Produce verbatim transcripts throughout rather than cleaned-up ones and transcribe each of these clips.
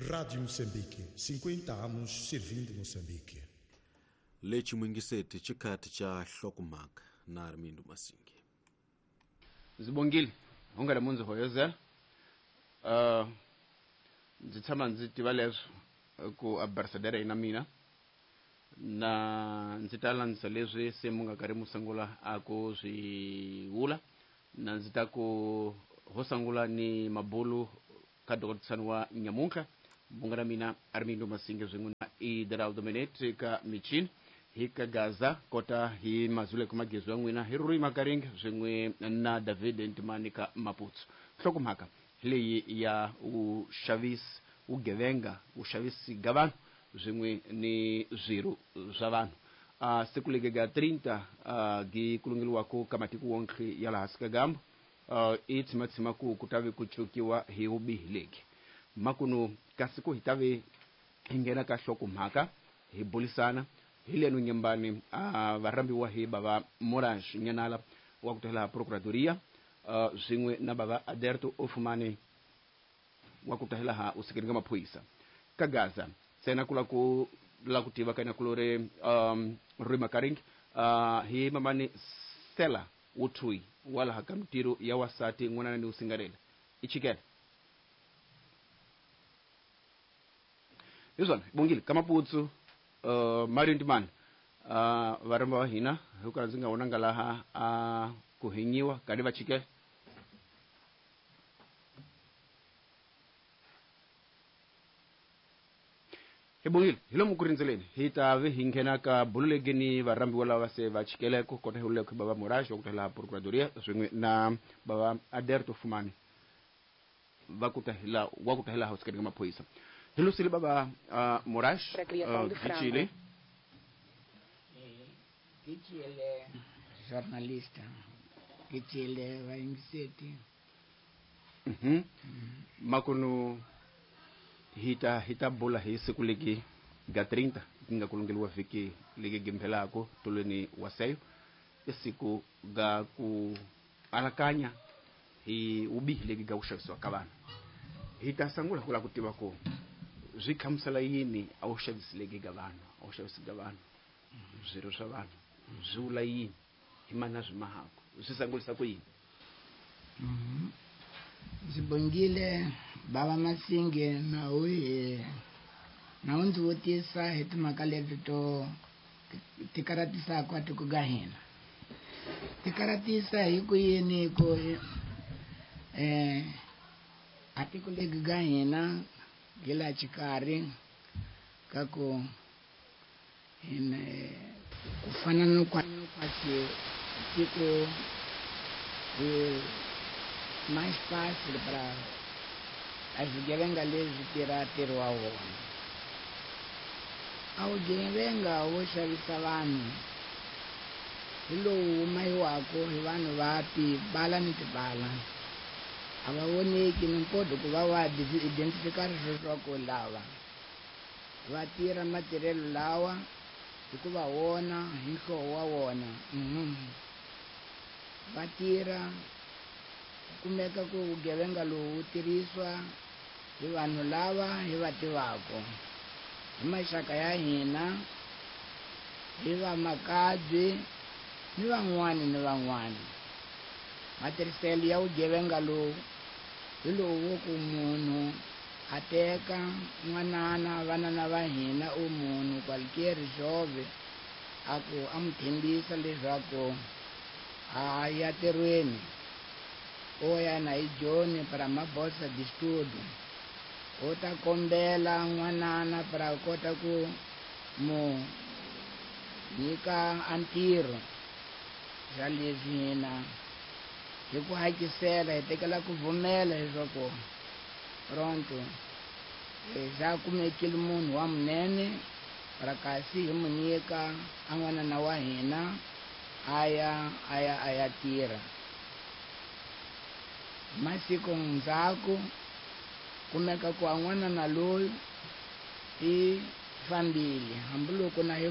Rádio Moçambique, cinquenta anos servindo Moçambique. Lexi mwingiseti xikhathi xa hlokomhaka na Armindo Masingi. Ndzi hungela mundzi hoyozela. Uh, ndzi tshama ndzi tiva leswo ku ambasadara ina mina na ndzi ta landzisa leswi se mu nga karhi mu sungula a ku swi vula na ndzi ta ku ho sungula ni mabulu ka dokotisani wa nyamuntlha munga na mina Armindo Masingi swin'we na Ideraldo Menete ka michini hi ka Gaza kota hi mazule ku magezo ya n'wina hi Rui Makaringa swin'we na David Ntimani ka Maputsu. Nhlokomhaka leyi ya vuxavisi vugevenga vuxavisi ga vanhu swin'we ni swirho swa vanhu. Uh, siku legi ga trinta uh, gi kulungeliwako ka matiko wonke ya laha hansi ka gambo uh, i tshimatshima ku ku ta ve ku cukiwa hi vubihi legi makunu kasi ku hi ta ve hi nghena ka nhlokomhaka hi bulisana hi leno nyembani uh, varhambiwa hi bava Moraes Nyanala wa ku tela Procuradoria uh, swin'we na bava Aderto Ofumane wa ku tela ha usikeni ka maphorisa ka Gaza tsena kula ku la ku tiva kana kulore um Rui Makaring uh, hi mamani Sela Utui wala ha kamtiro ya wasati n'wana ni usingarela ichikela izona bongile kamaputsu uh, Mario Ntimani uh, varamba wa hina hikuva ndzi nga vonanga laha a uh, ku hinyiwa kadi va chikela hi bongile hi lomu ku rindzeleni hi ta ve hi nghena ka bulu legi ni varhambiwa lava se va chikeleko kota hi uleko bava Moraes wa ku tela Procuradoria swin'we na bava Aderto Fumani va ku ta hila wa ku ta hila house ka maphorisa. Hi lusile bava uh, Moraes uh, Gichile Gichile jornalista Gichile va ingiseti mhm makunu hita hita bula hi siku legi ga trinta nga kulungeliwa vhiki legi gimphelako tolweni waseyo isiku ga ku alakanya hi ubihi legi ga ku xavisiwa ka vanhu. Hi ta sungula ku la ku tiva ku swi khamusela yini a wu xavisi legi ga vanhu a wu xavisi ga vanhu swirho swa vanhu swi vula yini hi mana swi mahako swi sungulisa ku yini. Ndzi bongile bava Masingi na u hi na u ndzi vutisa hi timhaka leti to ti karatisaka a tiko ga hina ti karatisa hi ku yini ku eh a tiko legi ga hina hi la xikarhi ka ku hina ku fana no kwasi tiko mais fácil para a swigevenga leswi tirha ntirho wa wona. A vugevenga wo xavisa vanhu hi lowu humayiwaka hi vanhu va tibala ni tibala a va voneki ni mpoto ku va va identifikar leswaku lava va tirha matirhelo lawa hikuva wona hi nhloko wa wona va tirha kumeka ku vugevenga lowu tirhisiwa hi vanhu lava hi va tivaka hi maxaka ya hina hi vamakabye ni van'wani ni van'wani. Matirhiselo ya vugevenga lowu hi lowu wo ku munhu a teka n'wanana vanana va hina u munhu qualquer jove a ku a mu tshembisa leswaku a ya ntirhweni o ya na hi Joni para mabosa de estudo o ta kombela n'wanana para kota ku mu nyika a ntirho xa leswi hina hi ku hakisela hi tekela ku pfumela leswaku pronto xa kumekile munhu wa munene para kasi hi mu nyika a n'wanana wa hina a ya a ya a ya tirha. Masiku ndzhaku kumeka ku a n'wanana loyi i fambile hambiloko na hi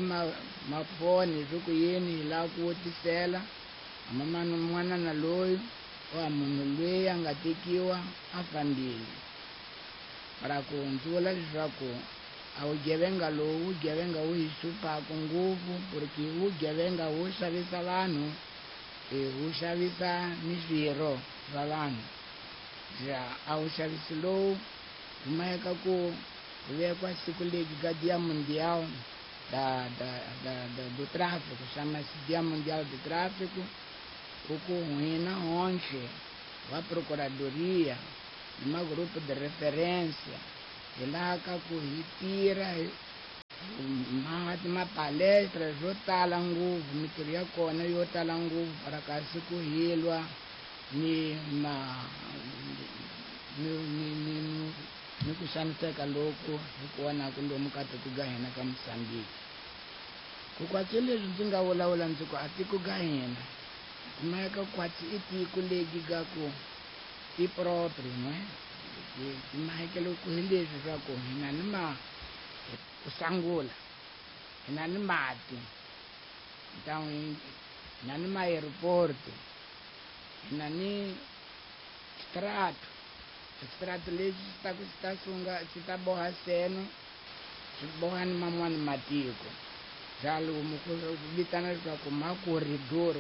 mafoni swi ku yini hi lava ku vutisela amamani n'wanana loyi wa munhu loyi a nga tekiwa a fambile. Para ku ndzi vula leswaku a vugevenga lowu vugevenga wu hi hluphaku ngopfu porque vugevenga wu xavisa vanhu, wu xavisa ni swirho swa vanhu. Ja a wuxavisi lowu kumeka ku vekwa siku legi ka Dia Mundial da, da, da, da, do Tráfico, chama-se Dia Mundial do Tráfico, ku hina honhle va Procuradoria ni magrupo de referência hi laha ka ku hi tirha hi ma mapalestra swo tala ngopfu, mintirho ya kona yo tala ngopfu para kasi ku hilwa ni ma ni ni ni ni ku xaniseka loku hi ku vonaku lomu ka tiko ga hina ka Mozambique. Ku kwatsi leswi ndzi nga vulavula ndzi ku a tiko ga hina kumeka kwatsi i tiko legi ga ku i proprio no mahekelo ku hi leswi swa ku hina ni ma ku sangula hina ni mati, então hina ni ma aeroport, hina ni strato strato lexi xi ta ku xi ta sunga xi ta boha seno xi boha ni man'wani matiko ja lomu ku vitana leswaku ma corridor,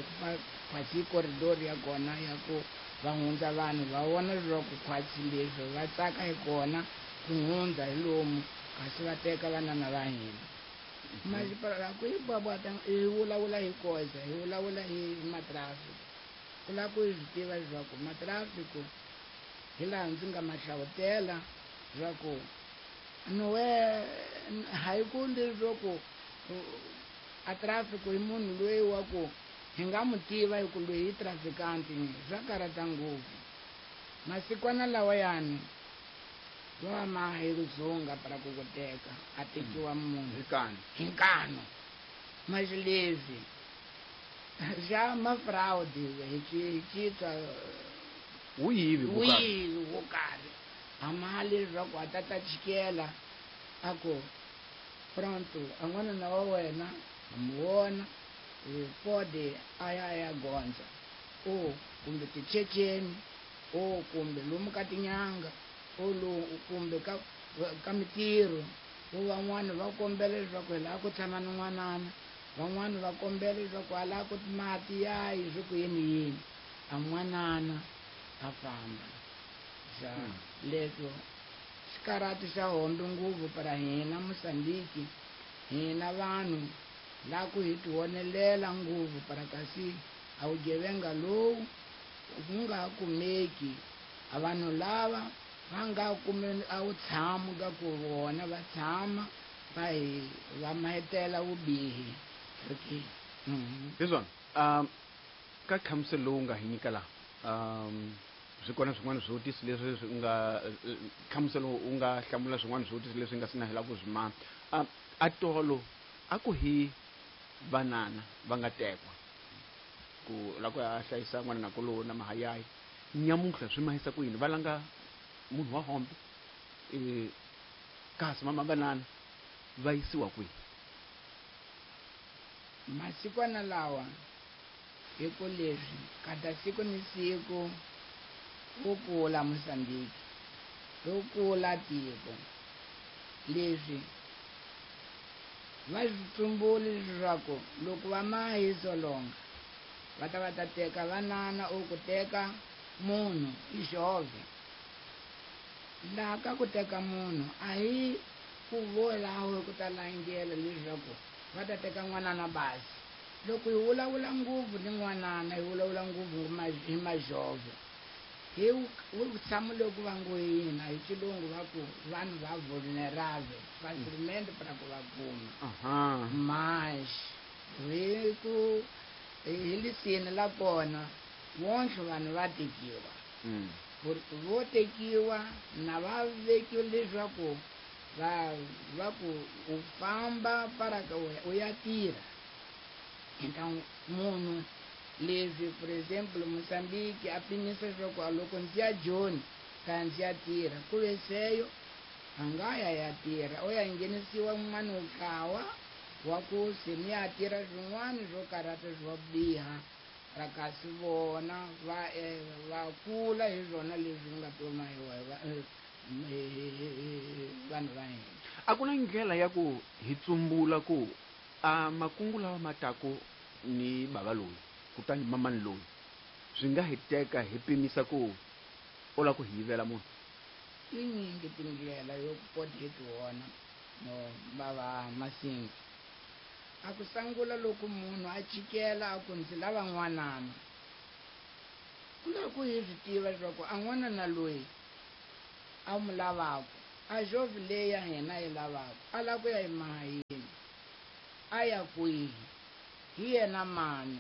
khwatsi corridor ya kona ya ku va hundza vanhu va vona leswaku khwatsi leswi va tsaka hi kona ku hundza hi lomu kasi va teka vanana va hina. Masipala ku hi bwabwata hi vulavula hi koza hi vulavula hi matrafiki ku lava ku hi swi tiva leswaku matrafiki hi laha ndzi nga ma hlavutela leswaku nowe hayi ku leswaku a traffic i munhu loyi wa ku hi nga mu tiva hi ku loyi i trafikanti swa karhata ngopfu. Masikwana lawayani va ma hi dzunga para ku ku teka a tekiwa munhu hi nkanu hi nkanu mas leswi xa ma-fraud hi hi xitwa wu yivi wu yivi wo karhi a mali leswaku a ta ta chikela a ku pronto a n'wanuna wa wena a mu vona pode a ya ya gondza o kumbe tichecheni o kumbe lomu ka tinyanga o lowu kumbe ka ka mitirho o van'wani va kombela leswaku hi lava ku tshama ni n'wanana, van'wani va kombela leswaku a lava ku mati yayi swi ku yini yini a n'wanana a famba. Ja leswo xikarhati xa hombe ngopfu para hina Mozambique, hina vanhu la ku hi tivonelela ngopfu para kasi a vugevenga lowu ku nga ha kumeki a vanhu lava va nga kumi a wu tshami ka ku vona va tshama va hi va mahetela vubihi. Okay. Hi swona um ka nhlamuselo lowu nga hi nyika laha um swi kona swin'wana swivutiso leswi swi nga nhlamuselo u nga hlamula swin'wana swivutiso leswi nga si na hela ku swi mama. A tolo a ku hi vanana va nga tekwa ku la ku ya hlayisa n'wana na kolowo na mahayayi nyamuntlha swi mahisa ku yini va langa munhu wa hombe e kasi mama vanana va yisiwa kwihi? Masikwana lawa hi ku leswi kada siku ni siku wu kula Mozambique wu kula tiko leswi va swi tsumbuli leswaku loko va mahi solonga va ta va ta teka vanana o ku teka munhu i xove laha ka ku teka munhu a hi ku volaho ku ta langela leswaku va ta teka n'wanana basi. Loko hi vulavula ngopfu ni n'wanana hi vulavula ngopfu hi majove hi tshama loko va ngo yina hi xilungu va ku vanhu va vulnerable facilmente para ku va kuma mas hi ku hi lisini la kona vonhle vanhu va tekiwa vo tekiwa na va vekiwa leswaku va va ku u famba para ka u ya tirha. Então munhu leswi for example Mozambique a pimisa leswaku loko ndzi ya Joni ka ndzi ya tirha ku ve seyo a nga ya ya tirha o ya nghenisiwa un'wana ntlawa wa ku se mi ya tirha swin'wana swo karhata swo biha ra kasi vona va va kula hi swona leswi nga toma hi vanhu va hina. A ku na ndlela ya ku hi tsumbula ku a makungu lawa ma taku ni bava loyi kutani mamani loyi swi nga hi teka hi pimisa ku u lava ku hi yivela munhu. Tinyingi tindlela yo kota hi tiwona no bava Masingi. A ku sangula loko munhu a chikela a ku ndzi lava n'wanana, ku lava ku hi swi tiva leswaku a n'wanana loyi a n'wi lavaka a jovhi leyi ya hina yi lavaka a lava ku ya emahayini, a ya kwihi, hi yena mani.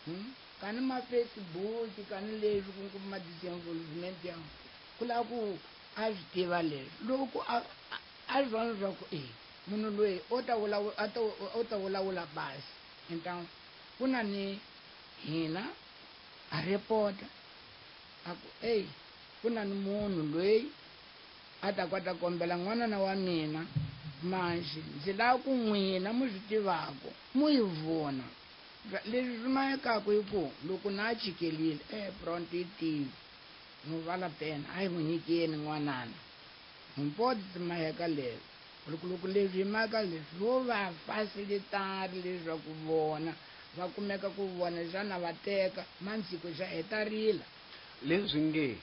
Hmm? Kani ma Facebook kani leswi ku kuma disinvolvement ya ku lava ku a swi tiva leswi loko a a swi vona leswaku e munhu loyi o ta vulavula a ta o ta vulavula basi. Então ku na ni hina a report a ku ey ku na ni munhu loyi a ta kota kombela n'wanana wa mina manxi ndzi lava ku n'wina mu swi tivaka mu yi vona leswi swi mayekaka hi ku loko na chikelile e pronto yi tivi mu vala pena a yi n'wi nyikeni n'wanana mpoti ti mayeka leswi loko loko leswi hi maka leswi vo va facilitari leswaku vona va kumeka ku vona xana va teka mandziko xa heta rila. Leswi nge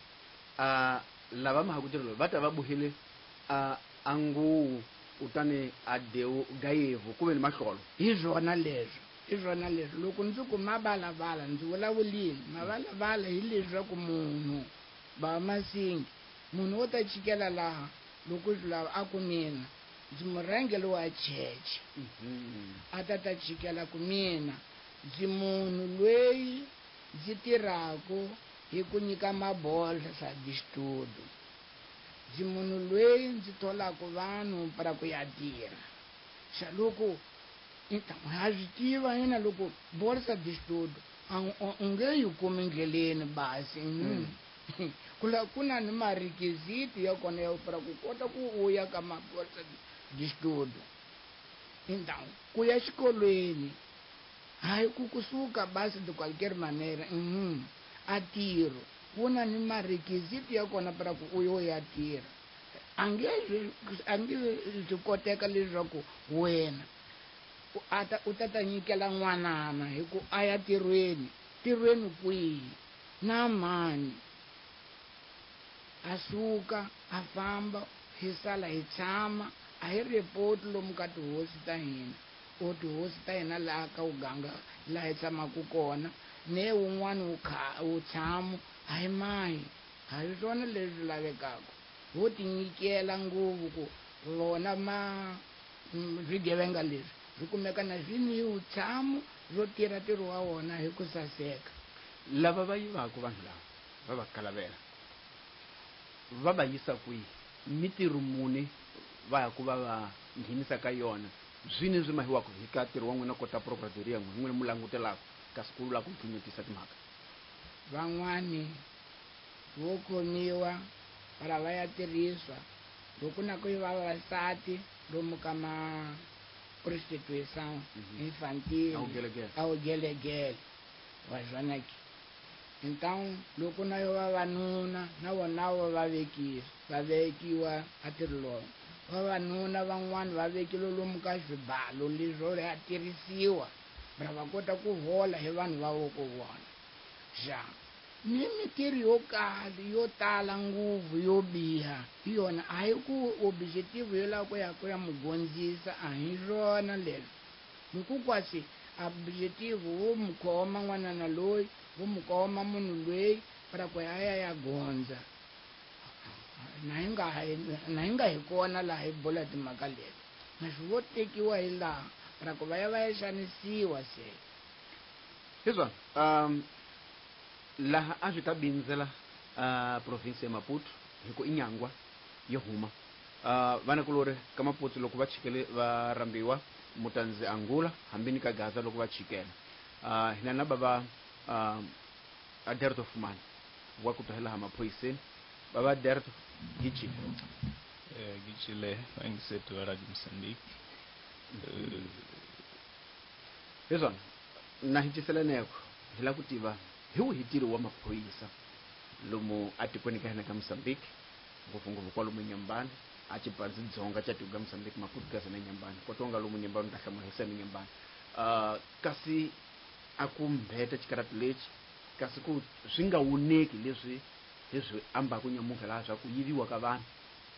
a lava mahakutirelo va ta va buhile a a nguwu kutani a dewu gayevu ku ve ni mahlolo. Hi swona leswi hi swona leswi loko ndzi ku mavalavala ndzi vulavulini mavalavala hi leswaku munhu ba Masingi munhu wo ta chikela laha loko swi lava a ku mina ndzi murhangeri wa cheche a ta ta chikela ku mina ndzi munhu loyi ndzi tirhaka hi ku nyika mabolsa distudo ndzi munhu loyi ndzi tholaka vanhu para ku ya tirha. Xa loko ha swi tiva yena loko bolsa distudo u nge yi kumi ndleleni basi. Ku la ku na ni marequisito ya kona ya para ku kota ku u ya ka mabolsa distudo. Então ku ya xikolweni hayi ku kusuka basi de qualquer maneira a tiro ku na ni marequisito ya kona para ku u yo ya tirha. A nge a nge swi koteka leswaku wena a ta u ta ta nyikela n'wanana hi ku a ya tirhweni tirhweni kwihi na mani. A suka a famba hi sala hi tshama a hi report lomu ka tihosi ta hina o tihosi ta hina laha ka uganga laha hi tshamaka kona ne wun'wana wu kha wu tshamo a hi mahi a hi swona leswi lavekaka. Ho tinyikela ngopfu ku vona ma swigevenga leswi swi kumeka na swi ni vutshamo swo tirha ntirho wa wona hi ku saseka. Lava va yivaka vanhu lava va va kalavela va va yisa kwihi mitirho muni va ya ku va va nghenisa ka yona swini swi mahiwaka hi ka ntirho wa n'wina kota procuradoria n'wina n'wina mu langutelaka kasi ku vula ku pfunyetisa timhaka. Van'wani vo khomiwa para va ya tirhiswa loko na ku yiva vavasati lomu ka ma prostituição infantil a wugelegele wa swona ke. Então loko na yo vavanuna na vona vo va vekiwa va vekiwa a ntirho lowu vavanuna van'wani va vekile lomu ka swibalo leswo ya tirhisiwa va va kota ku hola hi vanhu va vo ku vona. Xa ni mitirho yo kala yo tala ngopfu yo biha hi yona a hi ku objective yo lava ku ya ku ya mugondzisa a hi swona leswi loko kwasi objective wo mu khoma n'wanana loyi wo mu khoma munhu loyi para ku ya ya ya gondza na hi nga na hi nga hi kona laha hi bula timhaka leti naswi vo tekiwa hi laha para ku va ya va ya xanisiwa se. Hi swona um laha a swi ta bindzela uh, province ya Maputo hi ku inyangwa yo huma uh, vanakulori ka Maputo loko va chikele va rambiwa mutandzi Angola hambi ni ka Gaza loko va chikela uh, hina na bava uh, Aderto Fumani wa ku tuhela ha maphoyiseni bava Aderto gichi eh gichile vangisetu wa Radio Mozambique. Hezwana na hichiseleneko hi la ku tiva hi wihi ntirho wa maphorisa lomu atikweni ka hina ka Mozambique Ngopfungopfu kwalomu Nyambani a Chipanzi Dzonga cha Tiga Mozambique Maputo Gaza na Nyambani kwatonga lomu Nyambani ta hlamula hi sani Nyambani uh, kasi a ku mbheta xikarati lexi kasi ku swi nga wuneki leswi leswi ambaku nyamuntlha laha swa ku yiviwa ka vanhu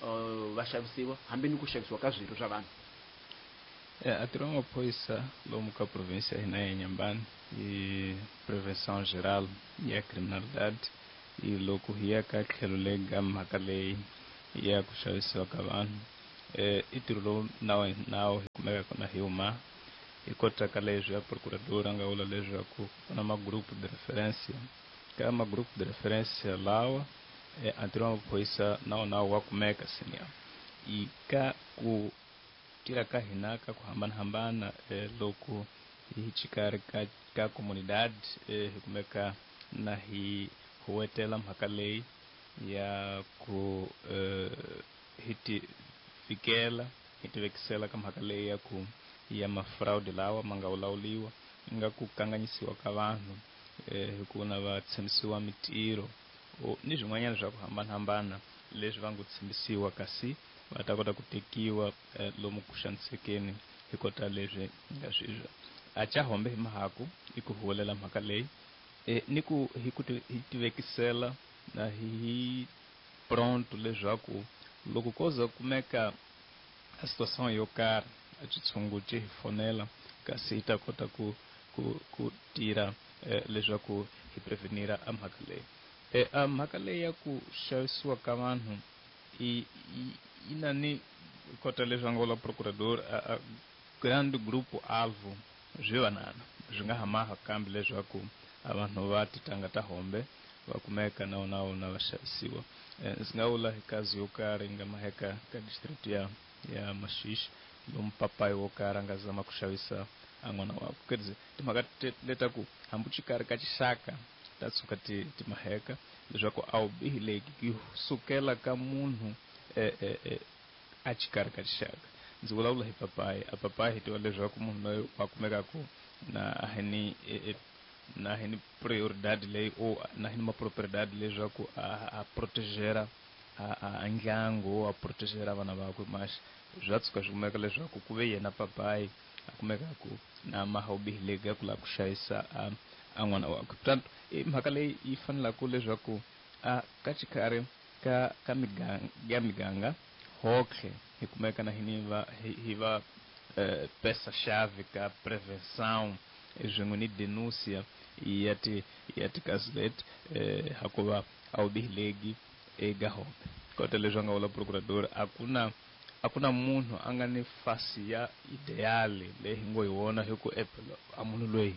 uh, va xavisiwa hambi ni ku xavisiwa ka swilo swa vanhu. A ntirho wa maphorisa lomu ka província ya hina ya Nyambani i prevenção geral ya criminalidade i loko hi ya ka tlhelo lega mhaka leyi ya ku xavisiwa ka vanhu eh i ntirho lowu nawu nawu hi kumeka kona hi huma hi kota ka leswi ya procurador a nga vula leswaku ku na magrupu de referência ka magrupu de referência lawa eh, a ntirho wa maphorisa nawu nawu wa kumeka senior i ka ku tirha ka hina ka ku hambanahambana eh, loko hi xikarhi ka ka comunidade eh, hi kumeka na hi huwetela mhaka leyi ya ku eh, hi ti fikela hi ti vekisela ka mhaka leyi ya ku ya mafraudi lawa ma nga vulawuriwa nga ku kanganyisiwa ka vanhu eh, hi ku na va tshembisiwa mitirho ni swin'wanyana swa ku hambanahambana leswi va ngo tshembisiwa kasi va ta kota ku tekiwa eh, lomu ku xanisekeni hi kota leswi nga swizwa a cha hombe hi mahaku i ku huwelela mhaka leyi eh, ni ku hi ku hi tivekisela na hi pronto leswaku loko ko za kumeka a situação yo karhi a xitshungu xi hi fonela kasi hi ta kota ku ku ku tirha eh, leswaku hi prevenira a mhaka leyi eh, a mhaka leyi ya ku xavisiwa ka vanhu i i na ni kota leswi nga vula procurador a, a grande grupo alvo swi vanana swi nga hamaha kambe leswaku a vanhu va titanga ta hombe va kumeka na wona wona va xavisiwa. Ndzi nga vula hi kazi yo karhi nga maheka ka district ya ya Maxixe lomu papayi wo karhi a nga zama ku xavisa a n'wana wakwe. Quer dizer, timhaka letaku hambi xikarhi ka xixaka ta tshuka ti ti maheka leswaku a wu bihileki ku sukela ka munhu eh, eh, eh, a xikarhi ka xixaka. Ndzi vulavula hi papayi a papayi hi tiva leswaku munhu loyi wa kumekaku na a hi ni eh, na hi ni prioridade leyi o na hi ni mapropriedade leswaku a a protegera a a ndyangu a protegera vana vakwe mas swa tshuka swi kumeka leswaku ku ve yena papayi a kumekaku na maha wu bihileki ya ku lava ku xavisa a a n'wana wakwe. Portanto i mhaka leyi yi fanelaka leswaku a ka xikarhi ka ka miganga ya miganga hotlhe hi kumeka na hini va hi va eh, peça-chave ka prevenção swin'we ni denúncia ya ti ya tikazi leti eh, hakuva a wu bihileki eka hombe. Kota leswi a nga vula procurador a ku na a ku na munhu a nga ni fasi ya ideale leyi hi ngo hi wona hi ku a munhu loyi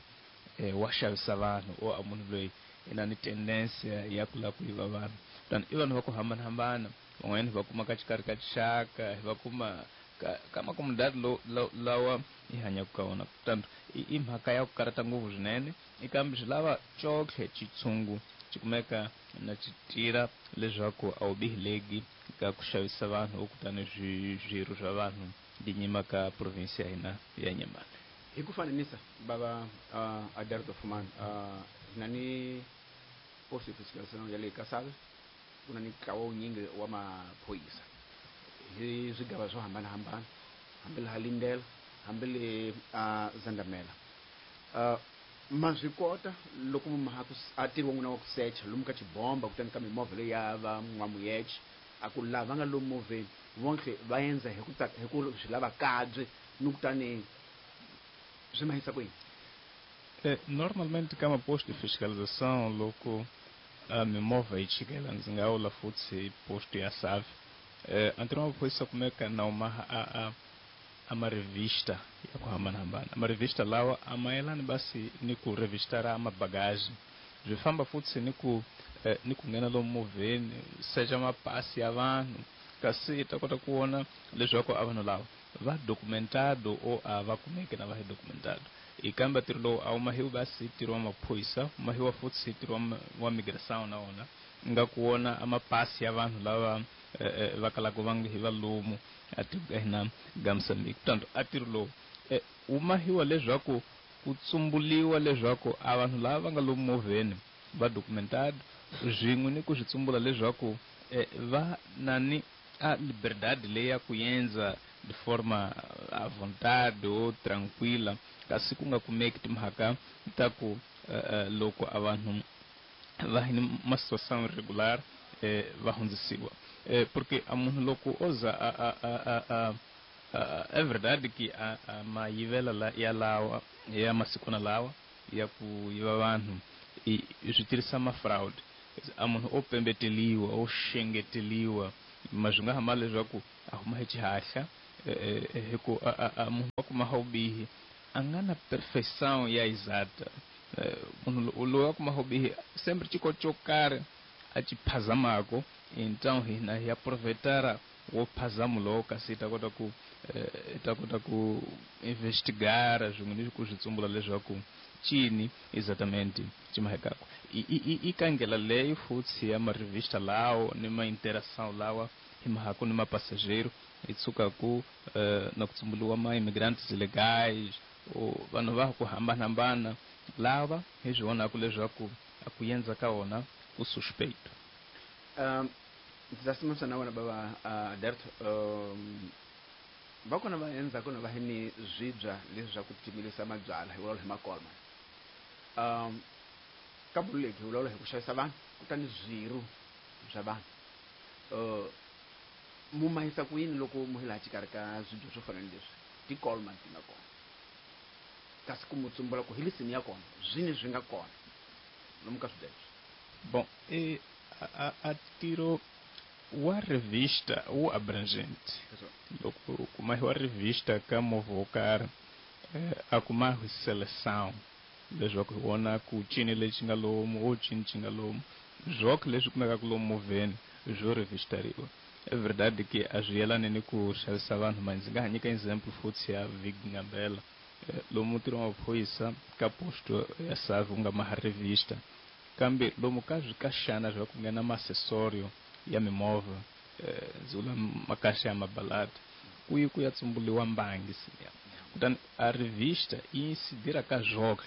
eh, wa xavisa vanhu o a munhu loyi i na ni tendensia ya ku lava ku yiva vanhu. Kutani i vanhu va ku hambanahambana van'wanyana hi va kuma ka xikarhi ka xixaka hi va kuma ka ka makomunidade lo lawa hi hanyaka ka wona. Kutani i mhaka ya ku karhata ngopfu swinene i kambe swi lava cotlhe xitshungu xi kumeka na xi tirha leswaku a wu bihileki ka ku xavisa vanhu kutani swirho swa vanhu di nyima ka province ya hina ya Nyambani. Hi ku fananisa bava uh, Adalberto Fumani uh, na ni posto de fiscalização ya le Kasave ku na ni ntlawa wunyingi wa maphorisa hi swigava swo hambanahambana hambi laha Lindela hambi le uh, Zandamela uh, ma swi kota loko maha ku a tirhi wa n'wina wa ku secha lomu ka xibomba kutani ka mimovha leyi ya va n'wamuyexe a ku lava nga lomu movheni vonke va endza hi ku hi ku swi lava kabye ni kutani swi mahisa ku yini? Eh, normalmente ka maposto de fiscalização loko a mimovha yi chikela ndzi nga vula futhi hi posto ya Save eh, a ntirho wa maphorisa kumeka na uma a a a marevista ya ku hambanahambana. Marevista lawa a mayelani basi ni ku revistara mabagaji swi famba futhi ni ku eh, ni ku nghena lomu movheni secha mapasi ya vanhu kasi hi ta kota ku vona leswaku a vanhu lava va documentado o a va kumeke na va hi documentado. I kambe ntirho lowu a wu mahiwi basi ntirho wa maphorisa wu mahiwa futhi ntirho wa migração na wona nga ku vona a mapasi ya vanhu lava eh, va kalaka va nga hi valomu a tiko ka hina ga Mozambique. Portanto a ntirho lowu eh, wu mahiwa leswaku ku tsumbuliwa leswaku a vanhu lava va nga lomu movheni va documentado swin'we ni ku swi tsumbula leswaku eh, va nani a liberdade leyi ya ku endza de forma à vontade ou tranquila, kasi ku nga kumeki timhaka ta ku uh, loko a vanhu va hi ni ma situação irregular eh, va hundzisiwa eh, porque a munhu loko o za a, a, a, a, a, a, é verdade que a, a mayivela la, ya lawa ya masikwana lawa ya ku yiva vanhu i swi tirhisa ma fraud. A munhu o pembeteliwa o xengeteliwa ma swi nga hamba leswaku a huma hi xihahla hi ku a munhu wa kuma vubihi a nga na perfeição ya exata. Munhu loyi a kuma vubihi sempre xiko xo karhi a xi phazamako, então hina hi aproveitar o phazamo lowo kasi hi ta kota ku hi ta kota ku investigar swin'we ni ku swi tsumbula leswaku cini exatamente xi mahekako. I ka ndlela leyi futhi ya marevista lawo ni ma interação lawa hi mahako ni mapassageiro hi tshuka ku na ku tsumbuliwa ma imigrantes ilegais ou vanhu va ku hambanahambana lava hi swi vonaka leswaku a ku endza ka wona ku suspeito. Um, ndzi ta simamisa na wena bava Aderto. Um, va kona va endzhaku na va hi ni swibya leswi swa ku timilisa mabyalwa hi vulavula hi makolma. Um, ka bululeki hi vulavula hi ku xavisa vanhu kutani swiru swa vanhu. Uh, mu mahisa ku yini loko mu hi laha xikarhi ka swibya swo fana ni leswi tikolma ti nga kona, kasi ku mu tsumbula ku hi lisini ya kona swini swi nga kona lomu ka swibya leswi? Bom, e a, a tiro wa revista wu abrangente. Loko kuma wa revista ka movha wo karhi a kuma hi seleção leswaku hi vona ku cini lexi nga lomu o cini xi nga lomu swoko leswi kumekaka lomu movheni swo revistariwa. É verdade que a swi yelani ni ku xavisa vanhu, ma ndzi nga ha nyika example futhi ya Vig Ngambela lomu ntirho wa maphorisa ka posto ya Save wu nga maha revista, kambe lomu ka swikaxana swa ku nghena ma-accessorio ya mimovha ndzi vula makaxa ya mabaladi ku yi ku ya tsumbuliwa mbangi siya. Kutani a revista yi incidira ka swoke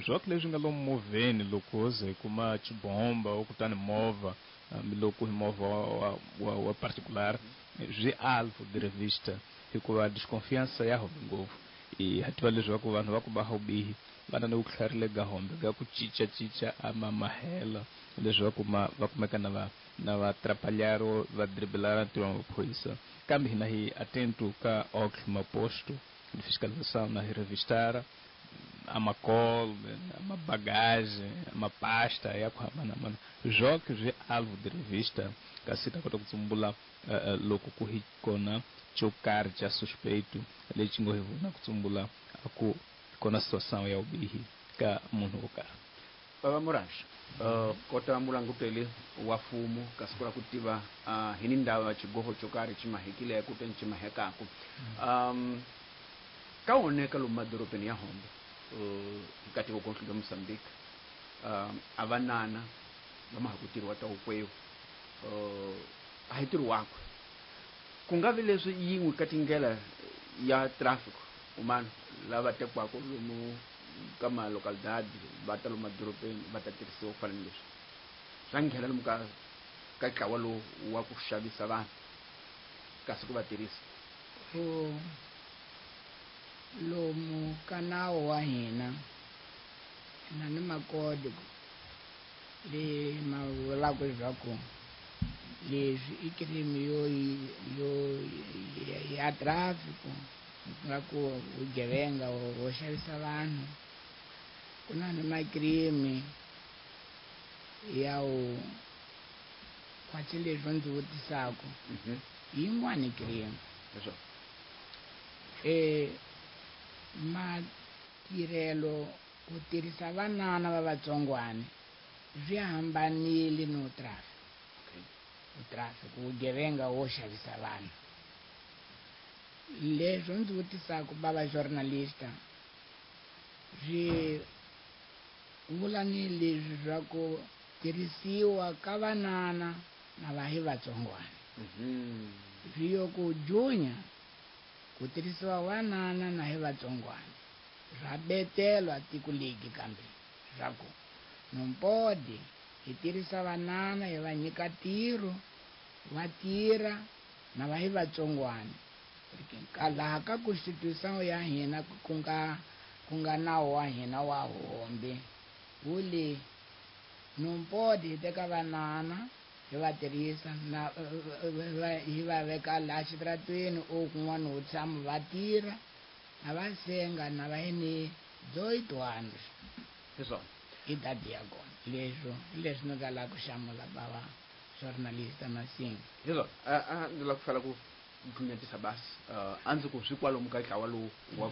swoke leswi nga lomu movheni loko ho ze hi kuma xibomba o kutani movha hambiloko hi movha wa, wa, wa particular swi alvo de revista hikuva desconfiança ya hombe ngopfu. I ha tiva leswaku vanhu va ku va vubihi va na ni vutlhari ga hombe ga ku cincacinca a ma mahela leswaku ma va kumeka na va na va atrapalhar va driblar ntirho wa maphorisa. Kambe hina hi atento ka ok maposto de fiscalização na revistara a macol, a ma bagagem, a ma pasta ya ku hambanahambana swoke swi alvo de revista kasi ta kota ku tsumbula uh, loko ku hi kona xo karhi xa suspeito lexi ngo hi vona ku tsumbula a ku kona situação ya vubihi ka munhu wo karhi. Baba Murash, uh, kota mulanguteli wa mfumo kasi ku la ku tiva uh, hi ni ndhawu ya xigoho xo karhi xi mahekile kutani xi mahekaku. Um, ka oneka lomu madorobeni ya Hombe uh, ka tiko gontlo la Mozambique um, a vanana va ma ha ku tirhiwa ta wukwewu uh, a hi ntirho wakwe ku nga vi leswi yin'we ka tindlela ya traffic umana lava tekiwaka lomu ka malocalidade va ta lomu madorobeni va ta tirhisiwa ku fana ni leswi swa nghena lomu ka ka ntlawa lowu wa ku xavisa vanhu kasi ku va tirhisa. Lomu ka nawu wa hina na ni makodi leyi ma vulaka leswaku leswi i crime yo yo ya traffic nga ku vugevenga wo xavisa vanhu. Ku na ni macrime ya u khwatsi leswi ndzi vutisaka yin'wani crime e matirhelo ku tirhisa vanana va vatsongwana swi hambanile no traffic. Traffic vugevenga wo xavisa vanhu. Leswi ndzi vutisaka bava journalista swi vula ni leswi swa ku tirhisiwa ka vanana na va hi vatsongwana. Swi yo ku junya ku tirhisiwa vanana na hi vatsongwana swa betelwa tiko legi kambe swa ku nompodi hi tirhisa vanana hi va nyika ntirho Va tirha na va hi vatsongwana. Ka laha ka constitution ya hina ku nga ku nga nawu wa hina wa hombe wu le não pode hi teka vanana hi va tirhisa na hi va veka laha xitaratweni o kun'wana ho tshama va tirha na va senga na va hi ni dezoito anos Hi swona. Idade ya kona leswo hi leswi ni nga lava ku hlamula bava jornalista Masinga. Hi swona, a a ndzi lava ku fela ku dlunyatisa basi, a ndzi ku swi kwalomu ka ntlawa lowu wa